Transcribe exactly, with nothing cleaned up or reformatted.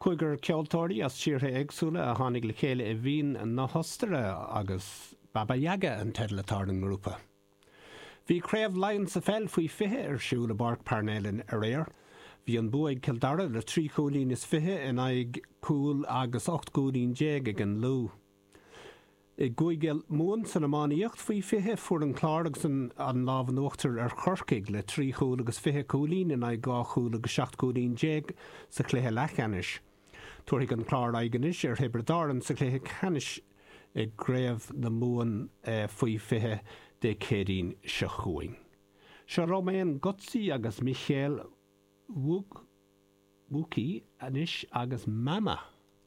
Cúigear ceoltóirí as tíortha éagsúla a tháinig le chéile i Vín na hOstaire agus Baba Yaga an teideal atá ar an ngrúpa. Bhí Craobh Laighean sa pheil faoi fiche ar siúl i bPáirc Parnell in aréir. Bhí an bua ag Cill Dara le trí chúilín is fiche in aghaidh cúl agus ocht gcúilín déag ag an Lú. I gCúige Mumhan san iománaíocht faoi fiche fuair an Clár agus an an lámh in uachtar ar Chorcaigh le trí chúl agus fiche cúilín in aghaidh dhá chúl agus seacht gcúilín déag sa chluiche leathcheannais. Tabharfaidh an Clár aghaidh anois ar Thiobraid Árann sa chluiche ceannais i gCraobh na Mumhan faoi fiche Dé Céadaoin seo chugainn. Seo Romain Gozzi agus Michael Wuk Wuki anois agus Mama.